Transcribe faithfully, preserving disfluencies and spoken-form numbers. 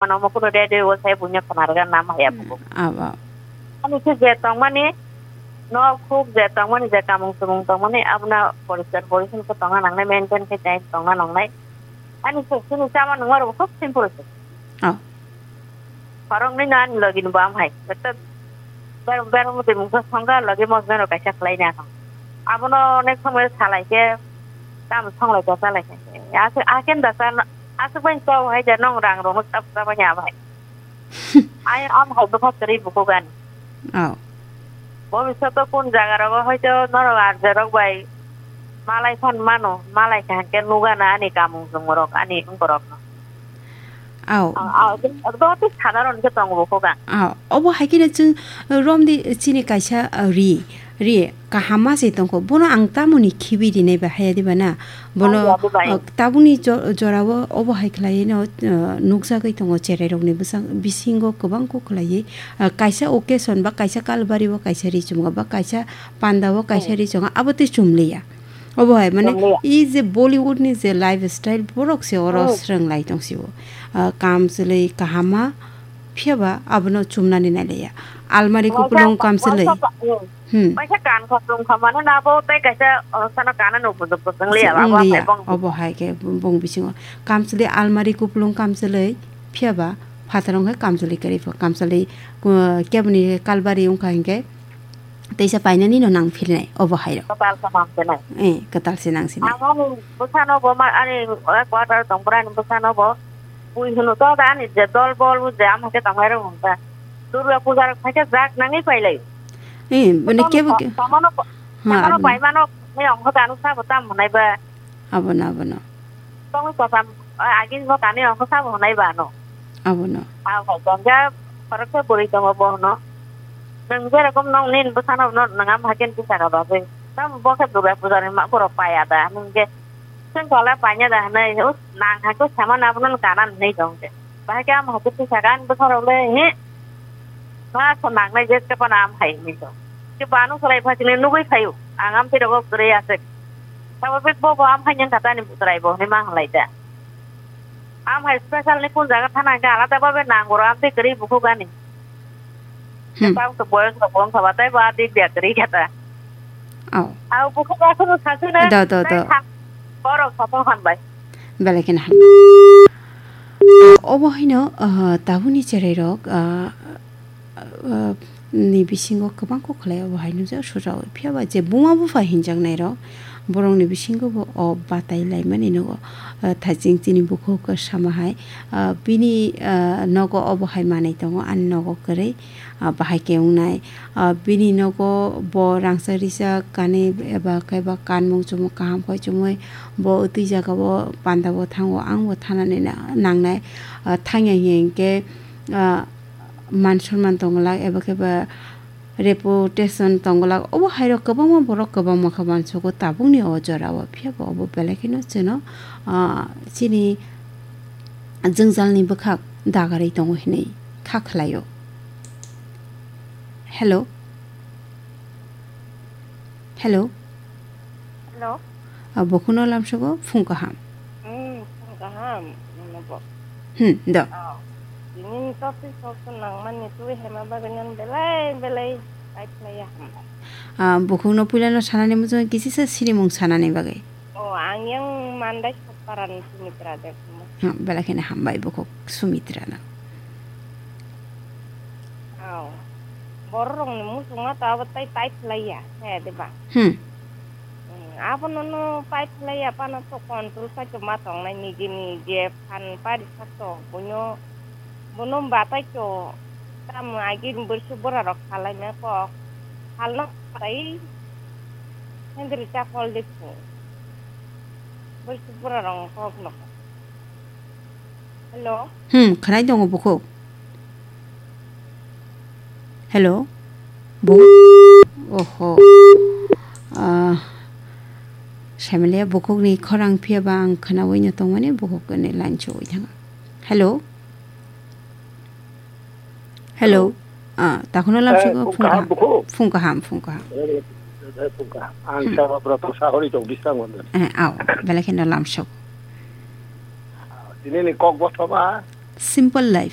Mano mo kuno radio o sai bunya khna rwgana ma ya buku. Abo. Ani se je tongmani, no khuk je tongmani, je kamung sumung tongmani, abuna poriskar porichoi khe tongna nangnai, maintain khe tei tongna nangnai. Ani se sini chama nungma rok khub simple se. Oh. Khoroknwi no ani logi ni bo am hai. Beto ber-, bermo de mungsa songga logi mosna rok kaisa khlai na. Abono onek somoi salai khe, tam songlai khe salai khe. Ase, aken da sa, asuk bai chau hai ja nong rang rok no tap tap nya bai. Ai am hai bwkha kwrwi bukugan. Oh. Bhobishoto kun jaga rogo hoito norok arja rok bai malai phan mano, malai kha hwnkhe nugana ani kamung chumung rok, ani wngkorok no. Aw. Aw, aw, ekdom, ekdom tei sadharon khe tongo bukugan. Aw, obo hai kheno chwng romdi chini kaisa, uh, ri, ri. Kaham ma se tongkho, bono ang tamoni khibi rinai ba haya diba na? Bono, haya diba, eh. Uh, tabukni jo-, jorao obo hai khlaiwi no, uh, nukjagwi tongo, cherai rokni bwsang bisingo kwbang kok khlaiwi, uh, kaisa occasion ba kaisa kalbari o kaisa ri chumga ba kaisa panda o kaisa, hmm, ri chumga, abo tei chumliya. Obo hai mane chumliya. I je Bollywood ni je lifestyle borok se oro, hmm, swrwng lai tong sio. Uh, kam chwlwi kaham ma, phiya ba abono chumnani nai liya. Almari, masa, kupulung kam chwlwi. Masa, hmm. Hmm. Kaisa kan kha, chwng kha mano na bo tei kaisa, oh, sano kana no bujuk bujuk liya, abo wng liya, hai bong. Obo hai khe bong bisingo. Kamchwlwi almari kupulung kamchwlwi, phiya ba phataro wngkha kamchwlwi kwrwi pho. Kamchwlwi, uh, keboni kalbari wngkha hinkhe teisa painani no nang phirinai, obo hai rok. Kwtal se nang phirinai. Eh, kwtal se nang sinai. Ang ani bwsano bo ma, ani, eh, quarter tong bwrani bwsano bo. Bui hwno to da ani je dol bol je ama khe tong hai rok wngkha. Durga puja rok phaikhe jak nangwi pailai. Eh, mane kebo ke-, samano, ha, samano aboni. Paimano, ni ongkho danu sabo tam hwnai ba. Abono, abono. Tongwi kotham, eh, agin bo kani ongkho sabo hwnai ba no. Abono. Abo jongja, khoroksa bwrwi tongo bo hwno. Nwng jerokom nong nin bwsano no nwng am haken tisaka bagwi. Tam bo khe Durga puja ni ma borok paya da. Nwng je Chwng kola paina da hwnwi, us, nang hai khe sama na abono kana hwnwi tong khe. Bahai khe am hai khe tisaka ani bwsarok le, he, ma so nangnai je tei bono am hai hwnwi tong. Khe bo ano swlai pha sini nugwi phaio, ang am tei rogo kwrwi aswk. Sabo bek bo bo am hai nang kha tani bwswrai bo hwnwi ma hwnlai da. Am hai special ni kun jaga thana hwnkhe alada babe nang oro am tei kwrwi bukhuk ani. Hmm. Tei tabuk to boyos rok bo wngkha ba, tei bo a dik dik kwrwi kha ta. Oh. Au bukhuk aswk no sasu na. Do, do, tei do. Tha-, borok satung hambai. Belai kheno hambai. Obo haino, ah, tabukni cherai rok, ah, ah, ni bisingo kwbang kok khlai obo hai nukjak sujao. Phiya ba je buma bupha hinjaknai rok, borokni bisingo bo o batai laimani nugo. Ah, thaiching chini bukhuk sama hai, ah, bini, ah, nogo obo hai manwi tongo, ani nogo kwrwi. Ah, bahai khe wngnai. Ah, bini nogo bo rangchak rijak kanwi eba khe ba kanmung chumung kaham khai chumui bo twi jaga o panda bo thango, ang bo thanani na-, nangnai. Ah, thangya hinkhe, ah, man sonman tongwlak eba khe ba reputation tongwlak. Obo hai rok kwbangma borok kwbangma khe uansugo tabukni o jora o, phiya bo obo belai kheno chwngno, ah, chini jwngjalni bwkhak dagarwi tongo hinwi kha khlaio. Hello? Hello? Hello? Ah, bukhukno lamsogo phung kaham. Hmm, phung kaham, nono bo. Hmm, do. Oh. Tini topic kok nangmani twi hema bagwi nang belai belai type laiya ham. Ah, bukhukno puilano sanani muchungo kisisa sinimung sanani bagwi. Oh, ang yang Mandai Sokparan Sumitra Debbarma. Hmm, belai kheno hambai bukhuk Sumitrano. Aw. Bororokni muchungma to abo tai pai phlaiya, he, diba? Hmm. Hmm, abono no pai phlaiya, phano to control khai to ma tongnai nijini je phan pari sak to, buino, buno batai to, tamo agi borsu borarok khalaina kok, halno tai, hendri chakol de phu. Borsu borarok kok no. Hello. Hmm, khwnai tongo bukhuk. Hello. Bu-, oho. Ah, Semilia bukhukni khorang phiya ba ang khwnawi no tongmani bukhuk ni line chugwi thanga. Hello. Hello. Hello. Ah, takhuno lamsogo. Eh, phung kaham, phung kaham. Bukhuk. Phung kaham, phung kaham. Eh, eh, phung kaham. Ang, hmm, Sababroto Sahori tong bisang wanda. Eh, aw, belai kheno lamsok. Tini ni kok bothoba. Simple life.